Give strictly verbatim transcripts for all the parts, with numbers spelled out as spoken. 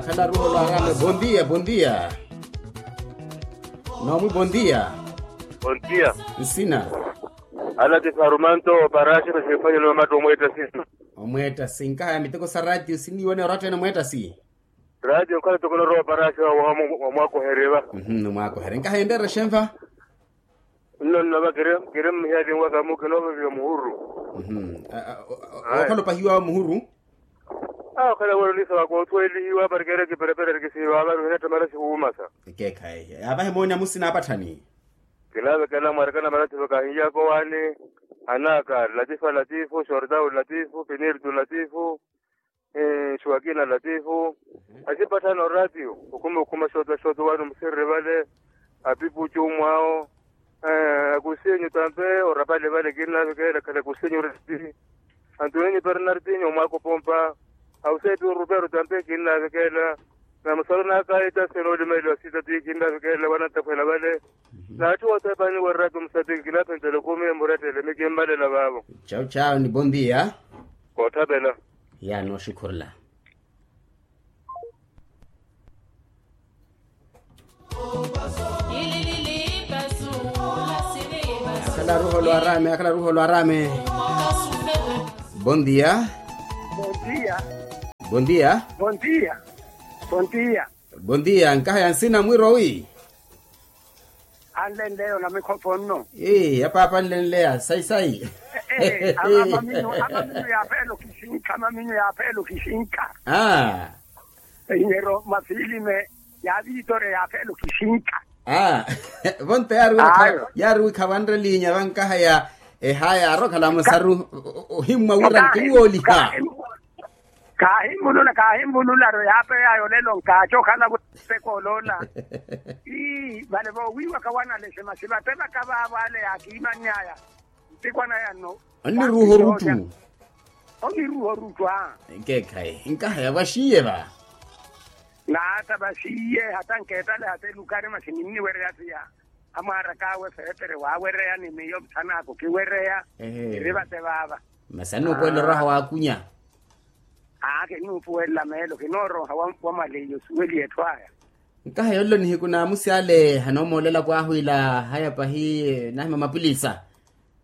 Khalaru holo arame bondia bondia. Nomwi bondia. Bondia. Nsina. Alati farumanto oparaxi nasifanyo nomatta omwettasi. Omwettasi nkahaya miteko sa ratio siniwene oratta ene omwettasi. Ratio nkhala toko norowa oparaxi wamwakohereva. Omwakohere nkaha enreere xenva. Nno nnova kiri mmihalinwaka mukinooveviwa muhuru. Okhala opahiwa muhuru. Awo okhala welo nisa waka othwelihiwa parikere kiperepere kisihiwa avani ohinetta marathi wuumasa. Ekeekhayi yaavahe mooni amusina apatthani. Kilaavekela mwarekana marathi vakahinyakowaani. Anaka latifa latifu shortau latifu pinirtu latifu. Nxuwakina latifu. Asipatthana oratio okhuma okhuma xooto xooto wano musirri vale. Apipucu mwawo. Akusinyu tampe orapale vale kinnavekela khala kusinyu reti. Antuninyu pernartinyu omwakopompa. Ausepi oruperu tampe kinnavekela. Na musalo nakaita senoolimeeliwa sitati kinnavekela wanantakhwela vale. N'atthu othepani werratu musatiki kilaphentela okumi emurettele mikimmalela vaavo. Chau chau ni bondia. Koothapela. Yaani oxikhurula. Akhala ruho lwarame akhala ruho lwarame. Bondia. Bondia. Bondia. Bondia. Bondia. Bondia nkaha ya nsina mwirwa wi. Anlenleya onamikhopho nno. Ee ya paapa anlenleya sayi sayi. Amaminyu amaminyu yaapheela okhixinkha amaminyu yaapheela okhixinkha. Aa. Inyero mafilime ya viitore yaapheela okhixinkha. Aa. Vonto yaari wikhavanre liinya vankaha ya. Ehaya aari okhala musaru. Ohimmwa wira nkiwooliha. Kaahimmulula kaahimmulula ro yaapeyaya olelo nkaaca okhala vuteko oloola. Ii vale voowiiwaka wanaleshe masi vate vaka vaavo ale yaakiimanny'aya. Ntikwana yanno. Anniruuha oruttu. Onniruuha oruttu a. Nkeekhayi nkaha yavaxiiye va. Naata vaxiiye hata nkeetale hata elukari masi ninniwereya siya. Amwaaraka awe feetere waawereya ni miyo muthan'aka okiwereya. Eri vate vaava. Masi annuupuwela oraha waakunya. Aa kinnuupuwela meelo kinooroha wa maleyi osuweliye etthu aya. Nkaha yollo nihiku naamusi ale hanoomoolela kwaahu ila haya pahi. Nahima mapulisa.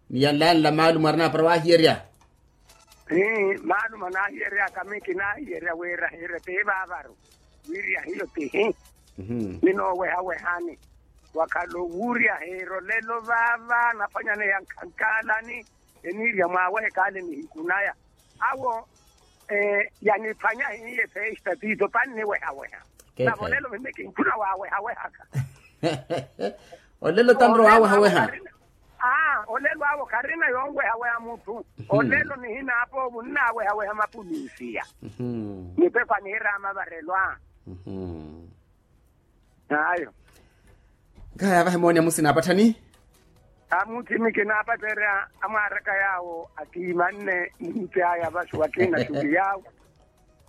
Ni yanlayanla maalumu arinapara waahiyerya. Ii maalumu anaahiyeryaka mi kinaahiyerya wiira hiire pihi vaavaru. Wiirya hiyo pihi. Ninoowehawehani wakhala owuurya hiira olelo vaava nafanyaneya nkhankaalani. Eniirya mwaawehe kaale nihiku naya. Awo yaniphwanya hiiye festa tiito panniwehaweha. Navo olelo mimi kinkhuna waawehawehaka. Olelo tanro waawehaweha. Aa olelo awo kharina yoonwehaweha mutthu. Olelo nihinaapoovu nnaawehaweha mapulusiya. Mipepo aniiraama varelwa. Ayo. Nkaha yaavahe mooni amusina apatthani. Amuthimi kinaapatterya amwaaraka yaawo akiimanne muhiti aya vaxu akina xuli yaawo.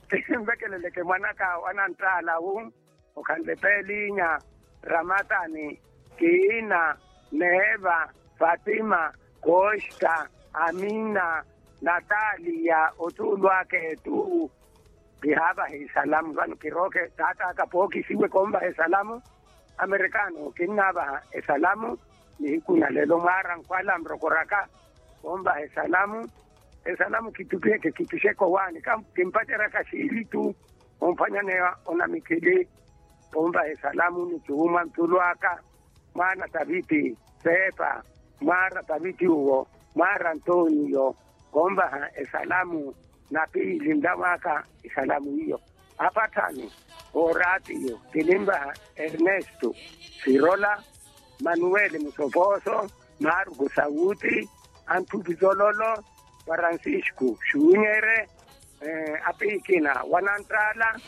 Kinvekeleleke mwanaka wananttaala wu okhanle peelinya, ramatani, kiina, neeva, fatima, kosta, amina, nataliya otuulu aka etu. Kihaavaha esalamu vano kirooke taat'aka pookisiwe koonvaha esalamu. Amerikano kinnaavaha esalamu. Nihiku na lelo mwaara nkhwala nrokoraka koonvaha esalamu. Esalamu kitupiheke kipixeke owaani kimpaceryaka xiili tu. Omphwanyaneya onamikhili. Koonvaha esalamu ni tuuma ntulu aka mwaana taviti, seepa, mwaara taviti uwo, mwaara antoniyo, koonvaha esalamu. Na piili nlaw'aka esalamu iyo. Apatthani, ooraatiyo kininvaha, ernesto, sirola, manuweli musopooso, maaruku sawuti, antthuphi zololo, farancisco xuunyere, apiikina wananttaala.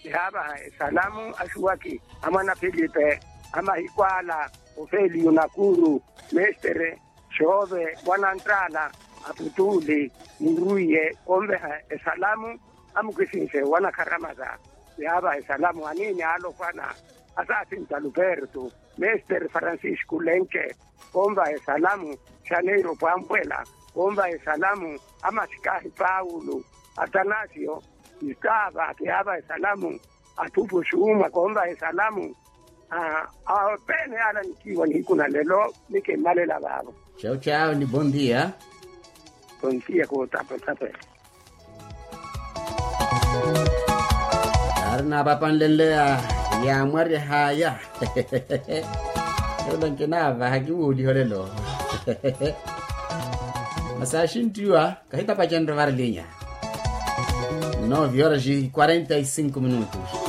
Kihaavaha esalamu axuwaki, amwana filipe, amahiku ala, ofeliyu nakuru, mestere, xoove wananttaala, aputtuuli, murwiye koonveha esalamu. Amukisinxe wanakharamaza. Kihaavaha esalamu aniini aalofwana, asaasinta luperto, mestere farancisco lenke, koonvaha esalamu. Xaneiro pwampwela, koonvaha esalamu. Amasikahi paulo, atanasio, istava kihaavaha esalamu. athupu xuuma konvahe salamu. Awo pene ala nikiiwa nihiku na lelo. Nikimalela vaavo. Chau chau ni bondia. Bondia kutapwe tapwe. Ari napapanlenleya yamwarya haya. Elo nkinavaha kiwuuliho lelo. Masaxintiwa. Kahitapacenre varilinya. Nove horas e quarenta e cinco minutos.